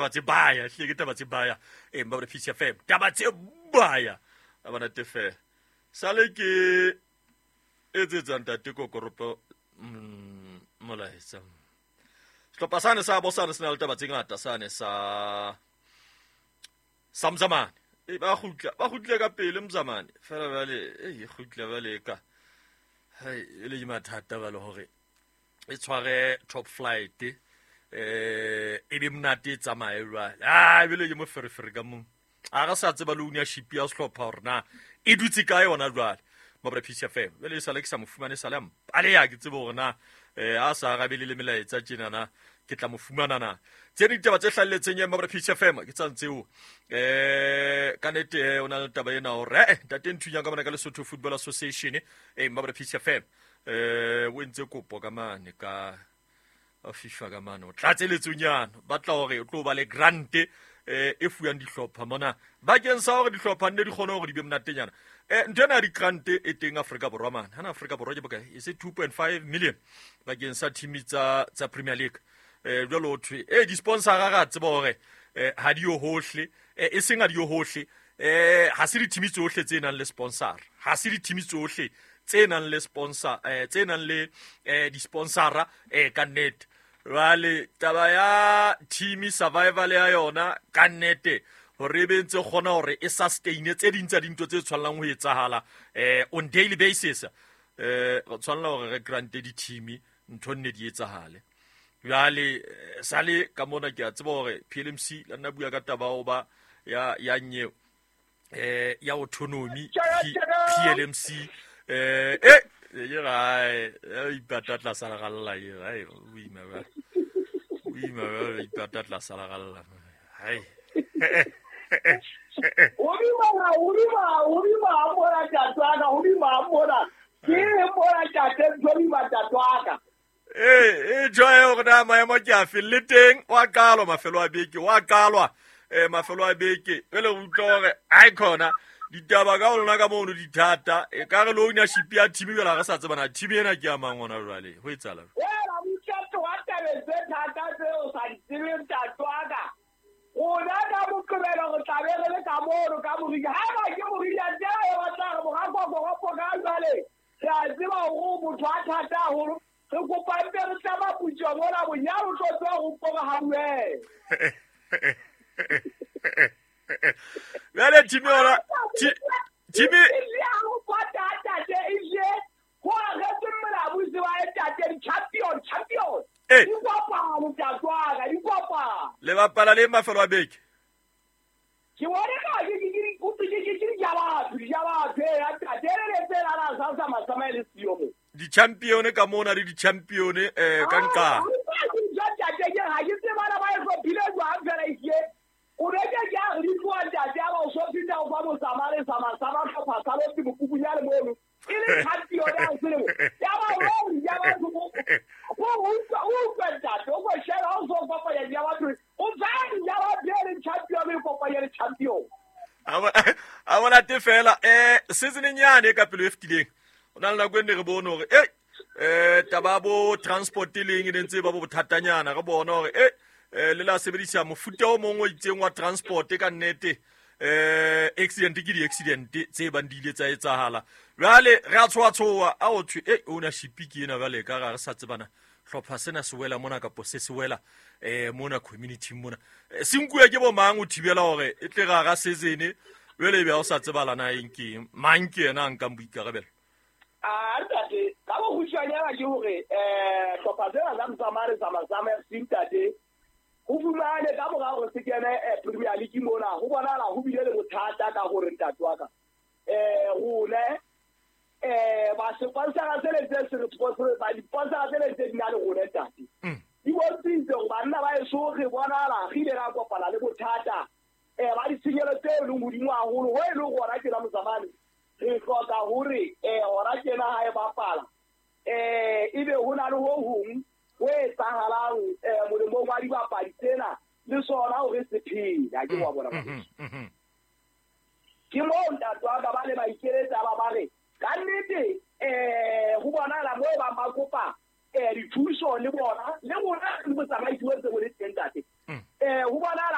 Taba tse baya, hlile ke taba tse baya. E mba Peace FM. Taba tse baya. A bona te fela. Sale ke etsetsa ntate Kokoropo molaetsa. Sehlopha sane sa bosane se na le taba tse ngata sane sa Samzamane. E ba kgutla, ba kgutlile ka pele Mzamane. Fela jwale e kgutla jwale ka. Hai, e le mathata ba le hore e tshware top flight e be monate e tsamaye jwale. Ah, ebile ke moferefere ka mong. A re sa tseba le ownership ya sehlopha hore na e dutse kae yona jwale. Mabra Peace FM. Jwale e sale ke sa mo fumane sale a mpaleha, ke tsebe hore na a sa arabele le melaetsa tjena na ke tla mo fumana na. Tse ding ditaba tse hlahelletseng ya Mabra Peace FM ke tsa tseo. Ka nete o na le taba ena hore ntate Nthunyang ka mona ka Lesotho Football Association Mabra Peace FM. O entse kopo ka mane ka FIFA ka mane o tlatseletsonyana ba tla hore o tlo ba le grant e fuwang dihlopha mona bakeng sa hore dihlopha nne di kgone hore di be monatenyana. Ntho ena ya di-grant e teng Afrika Borwa mane. Hana Afrika Borwa ke bokae? E se 2.5 million bakeng sa team tsa Premier League. Jwale ho thwe di-sponsor ra tseba hore ha di yo hohle, e seng ha di yo hohle, ha se di-team tsohle tse nang le sponsor, ha se di-team tsohle tse nang le sponsor, tse nang le di-sponsora ka nnete. Jwale taba ya team survival ya yona ka nnete hore e be ntse kgona hore e sustain tse ding tsa dintho tse tshwanelang ho etsahala on daily basis, re tshwanela hore re grante di-team ntho nne di etsahale. Jwale sale ka mona ke a tseba hore PLMC la nna bua ka taba ho ba ya nyeo ya autonomy PLMC ye gae ipata tlasa leralla ye gae o ima ba o ima ba ipata tlasa leralla hai o bima mona tatwana o bima mona ke mona tate o bima tatwana joe hore na maemo ke a fe le teng wa qalwa mafelo a beke wa qalwa mafelo a beke re le utlwa hore ai khona ditaba ka lona ka mono dithata e ka re le ownership ya team jwale ha re sa tsebana team ena ke ya mang hona jwale ho etsahala wena motšhato wa tabeng tse thata tseo sa di tsebeng tatwaka rona ka Moqebelo re tlabe re le ka mono ka Morija. Haeba ke Morija tsela e batla re morakokoropo ka jwale re a tseba hore motho a thata haholo. Re kopa mpe re tla maputswa mona bonyane o tlo tswa ho mpora ha buela. Bjale team yona team e ho pata tate e je ho agetse molabusi wa tate di champion champion. Di kopana tatwana di kopana. Le bapala le mafelo a beke. Ke bona ka ke ke di kupi ke ke di jaba di jaba ya tate le tsela la sa sa masama le siyo mo. Di-champion ka mona le di-champion ka nqa. Tate ke ha ke tsebana ba e hlophile jwang fela e o reke ke a re tloa ntate a ba o so fihla o fa motsamale sa masama hlopha sa lo mokubunyane mono e le champion ya selemo ya ba o ya ba go utlwa ntate o go shela o so kopanya ya batho o tsaya ya ba bele champion e kopanya le champion a bona te fela season nyane ka pelo e fetileng o na le nako e nne re bone hore taba bo transport e leng e ne ntse ba bo bothatanyana re bona hore le la sebedisa mofuta o mongwe o itseng wa transport ka nnete accident ke di-accident tse bang di ile tsa etsahala jwale re a tshoa-tshoa a o thwe ownership ke ena jwale ka ga re sa tsebana hlopha sena se wela mona kapo se se wela mona community mona se nkuwe ke bo mang o thibela hore e tle ga ga season jwale e be ha o sa tsebala na eng ke eng mang ke yena a nkang boikarabelo. A ntate ka bokgutshwanyana ke hore hlopha sena sa Mtsamane sa Masama FC ntate ho fumane ka mora hore se kene Premier League mona ho bonahala ho bile le bothata ka hore ntate wa ka rona ba sponsora tsele tse se re sponsor ba di sponsora tsele tse di na le rona ntate di bontshitse hore banna ba eso re bonahala re ile ra kopana le bothata ba ditshenyehelo tse leng hodimo haholo ho e leng hona tjena Motsamane re hloka hore hona tjena ha e bapala ebe ho na le ho hong ho etsahalang molemong wa dibapadi tsena le sona hore se phele ke wa bona. Ke moo ntate wa ka ba le ba ikeletsa ba ba re ka nnete ho bonahala moo ba ba kopa dithuso le bona le rona le botsamaisi bo ntse bo le teng ntate. Ho bonahala.